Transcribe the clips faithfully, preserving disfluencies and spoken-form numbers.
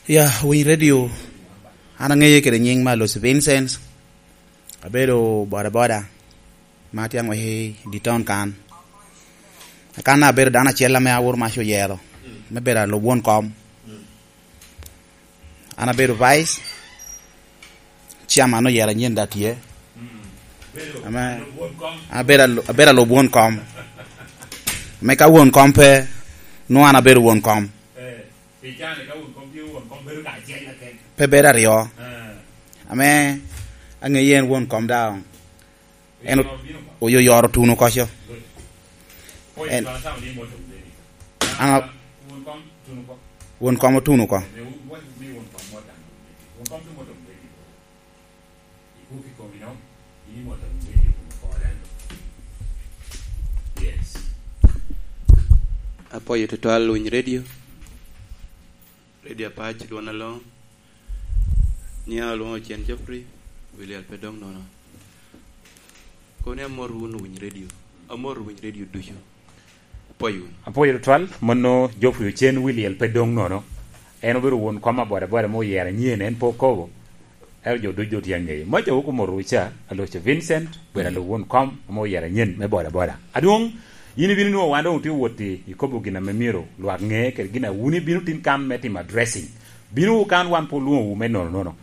Ya, winy redio, an aŋeye kede nyiŋ me Alosi Vincent, abedo bodaboda, ma tye aŋwec i dye taun kan. Kan abedo dano acel ame Awor Mac oyero, me bedo alub won kom. An abedo vice, chairman oyero anyen da tye. Ame, abedo alu-, abedo alub won kom. Me ka won kom pe, nwoŋo an abedo won kom. Pe bedo aryo. Ame aŋeye en won kom daŋ. En o-, oyo yoro tuno koco. En, an a-, won kom otuno ko. Apwoyo tutwal winy redio. Redio Apac, dwon aloŋ. Niya olwoŋo Ocen Geoffrey, William pe dong nono. Kono ni amor wun owiny redio. Amor winy redio ducu. Apwoyo wunu. Apwoyo tutwal, mano Geoffrey Ocen Williel pe dong nono. En obedo won kom abodaboda mo oyero anyen, en pe okobo. Ero jo ducu doŋ tye aŋeye. Maca wok omoto ca, Aloco Vincent, obedo alub won kom ame oyero anyen me bodaboda. Adwoŋ, yin ibino nwoŋo wan doŋ otye wot i, i kobo gin ame myero lwak ŋe, kede gin a wun ibino tin kan me timo addressing. Bino kan wan pe olwoŋowu me nono nono.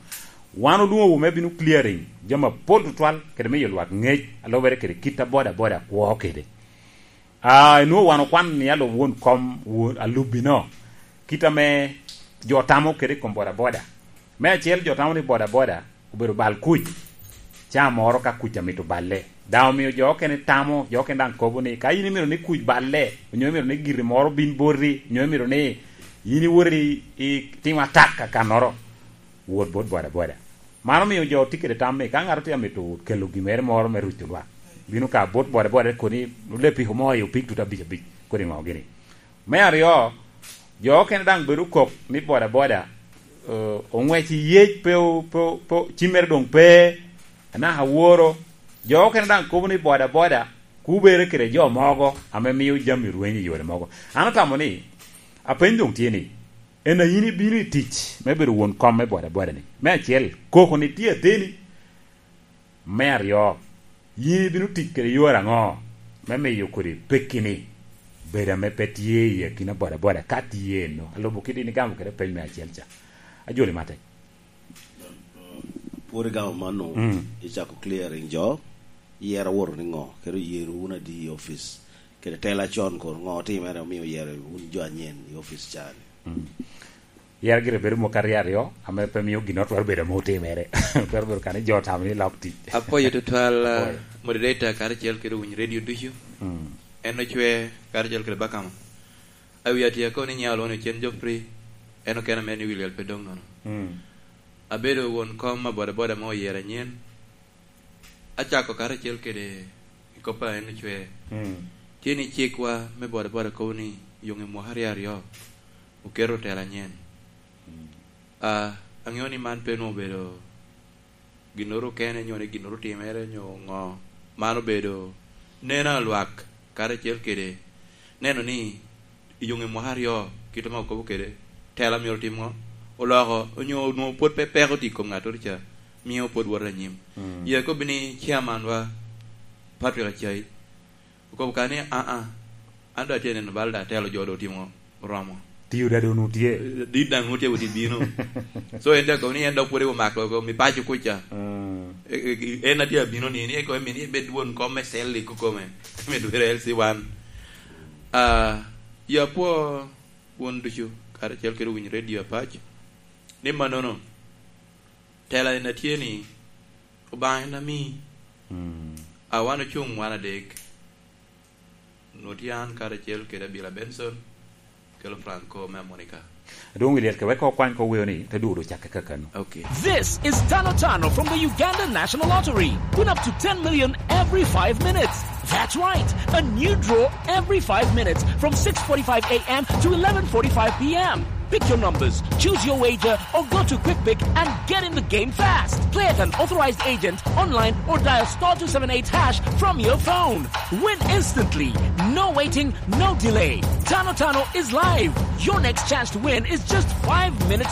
Wan olwoŋowu me bino clearing jami apol tutwal, kede miyo lwak ŋec, a lubere kede kit a bodaboda kwo kede. Ah, enwoŋo wan okwano ni alub won kom wo-, alubbi-no, kit ame jo tamo kede i kom bodaboda. Me acel, jo tamo ni bodaboda obedo bal kuc, ca moro ka kuc amito balle. Daŋ omio jo okene tamo, jo okene daŋ kobo ni, ka in imito ni kuc balle, onyo imito ni giri moro bin boti, onyo imito ni in iwot i, i timo atak akannoro, wot bot bodaboda. Man omio jo tye kede tam ni ka ŋat tye amito kelo gin mere moro me ruco lwak, bino ka bot bodaboda koni, olepiko mo i opik tutu abic abic, kodi ŋo gini. Me aryo, jo okene daŋ bedo kok ni bodaboda, eh, oŋwec i yec, pe o-, pe o-, pe o-, cimmere doŋ pe, anaka woro. Jo okene daŋ kobo ni bodaboda kubere kede jo mogo ame mio jami rweny i yore mogo. An atamo ni, apeny doŋ tye ni, en a yin ibino i tic me bedo won kom me bodaboda-ni? Me acel, koko-ni tye ateni? Me aryo, yin ibino tic kede yore aŋo me miyo kodi pekki-ni bedo ame pe tye i akina bodaboda ka tye eno? Alubo kit in igamo kede peny me acel ca. Ajoli matek. Pwod igamo mano, mm, icako clearing jo, iyero awoto ni ŋo, kede oyero wun adi i opic, kede tela con kono ŋo otimere omio oyero wun jo anyen i opic ca-ni? Mm. Yero gire bedo moko aryo aryo, ame pe mio ginnoro twero bedo ame otimere. Twero bedo kani jo otamo ni lok tic. Apwoyo tutwal, uh, moderator karacel kede owiny radio ducu. Mm. En ocwe karacel kede Bakama. Awi atye akobo ni nya olwoŋo ni Ocen Geoffrey, en okene mere ni William pe dong nono. Mm. Abedo won kom a bodaboda mo oyero anyen. Acako karacel kede i kop a en ocwe. Mm. Tye ni cikwa me bodaboda kobo ni yuŋ i mwaka aryo aryo oketo tela anyen. Mm. Ah, aŋeo ni man pe onwoŋo obedo ginnoro kene, nyo ni ginnoro otimere, nyo ŋo. Man obedo neno a lwak karacel kede neno ni i yuŋ i mwaka aryo, kit ame okobo kede, tela myero otim ŋo? Oloko, onyo onwoŋo pwod pe peko tye i kom ŋattoro ca, mio pwod woto anyim. Mm. Ye akobbi ni chairman wa, Patrick Acai, okobo ka ni, "Aa, an doŋ atye neno bal da, telo jo doŋ otimo oromo." Tiyo da doŋ onwoŋo tye. Dit daŋ onwoŋo tye wot i bino. So en te akobo ni en dok pwod omako mi paco kuca. Mm. E, e, en atye abino ni, ni ekobo mi ni ebed won kom me cell i kukome. Me dwero L C one. Ah, ya pwo won ducu, karacel kede owiny radio Apac, ni mannono, tela en atye ni, Obaŋa en ami. Mm. A wan ocuŋ wan adek. Nwoŋo tye an karacel kede Abila Benson, kelo Franco me Amonica. Adwoŋ wi lyet ke wek okwan ko weo ni, te dwogo ocakke kakano. Okay. This is Tano Tano from the Uganda National Lottery. Win up to ten million every five minutes. That's right, a new draw every five minutes from six forty-five a m to eleven forty-five p m. Pick your numbers, choose your wager, or go to QuickPick and get in the game fast. Play at an authorized agent, online, or dial star two seven eight hash from your phone. Win instantly. No waiting, no delay. Tano Tano is live. Your next chance to win is just five minutes